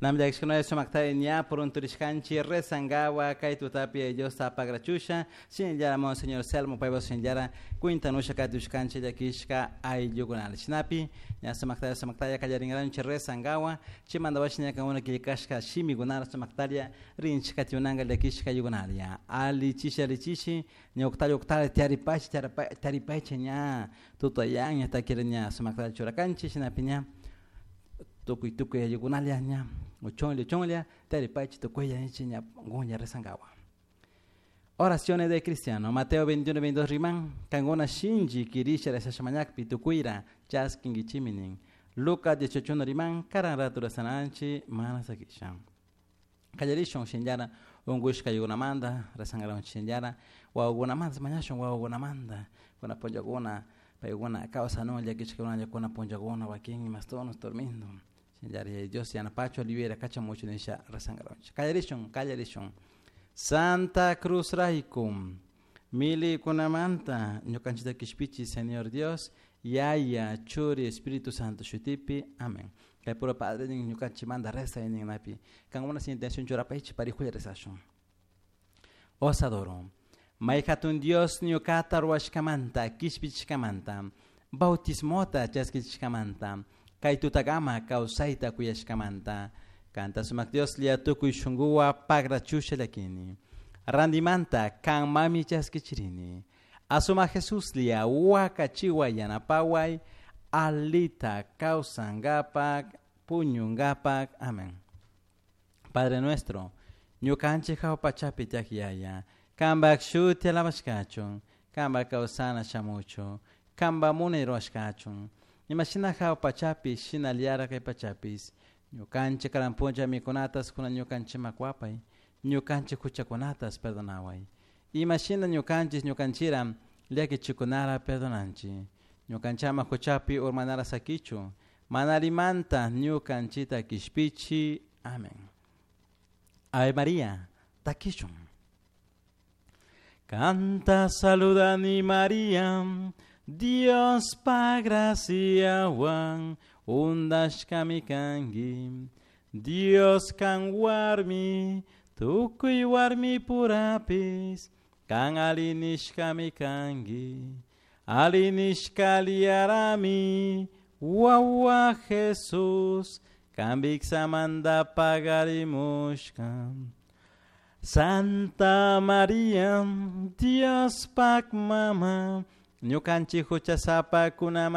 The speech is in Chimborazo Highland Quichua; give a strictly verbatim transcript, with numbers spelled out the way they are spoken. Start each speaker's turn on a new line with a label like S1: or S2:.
S1: Namllakishkunalla sumaktari ña purunturishkanchik rezankawa kay tutapi Diosta pagrachusha shinallara Monseñor Selmo paypa shinallara kwintanusha katushkanchik llakishka ayllukunala shinapi ña sumaktalla sumaktalla kallarinkaranchik rezankawa chaymanta washi ña kankuna killkashka shimikunala sumaktalla rinchik katiunanka llakishka ayllukunala allichishi allichishi ña uktalla uktalla tiyaripaychik tiyaripaychik ña tutayan ña takira ña sumaktalla churakanchik shinapi ña tukuy tukuy ayllukunalla ña uchunlla uchunlla tiyaripaychik tukuylla ña kunlla rezankawa. Oraciones de cristiano. Mateo veintiuno, veintidós riman. Kankuna shinchi kirisha rezasha mañakpi tukuyra chaskinkichimi nin. Lucas dieciocho uno riman. Karan ratu rezananchik mana sakisha. Kallarishun shinllara unkushka ayllukunamanta rezankaranchik shinllara wawakunamanta mañashun wawakunamanta kuna punllakuna paykuna kawsanun llakishkakunalla kuna punllakuna wakin imastonos durmiendo shinllara Yaya Dios yanapachu libera kachamuchu nisha rezankaranchik. Kallarishun, kallarishun. Santa Cruz rayku milikunamanta ñukanchikta kishpichi Señor Dios Yaya Churi Espíritu Santo shutipi. Amén. Kay puro Padre nin ñukanchikmanta rezay nin napi kankuna sin intención churapaychik parijulla rezashun. Os adoro. May hatun Dios ñukata ruwashkamanta kishpichishkamanta bautismota chaskichishkamanta kay tutakama kawsayta kuyashkamanta kanta sumak Dios lia tukuy shunkuwa pagrachusha llakini randimanta kan mami chaskichirini asuma Jesus lia wakachiway yanapaway alita kawsankapak puñunkapak. Amén. Padre nuestro ñukanchik hawa pachapi tiyak Yaya kanpak shuti alabashkachun kanpak kawsana shamuchun kanpak munay ruwashkachun imashina hawa pachapi shinallara kay pachapis ñukanchik karan punlla mikunatas kunan ñukanchikman kuwapay ñukanchik huchakunatas perdonaway imashina ñukanchik ñukanchira llakichikunara perdonanchik ñukanchama huchapi urmanara sakichu mana allimanta ñukanchikta kishpichi. Amén. Ave María, takishun. Kanta saludani María, Dios pa graciawan undashkami kanki. Dios kan warmi, tukuy warmi purapis, kan alinishkami kanki. Alinishka liarami, wawa Jesus, kan viksamanta pagarimushka. Santa María, Dios pak mama, ñukanchik huchasapakunamanta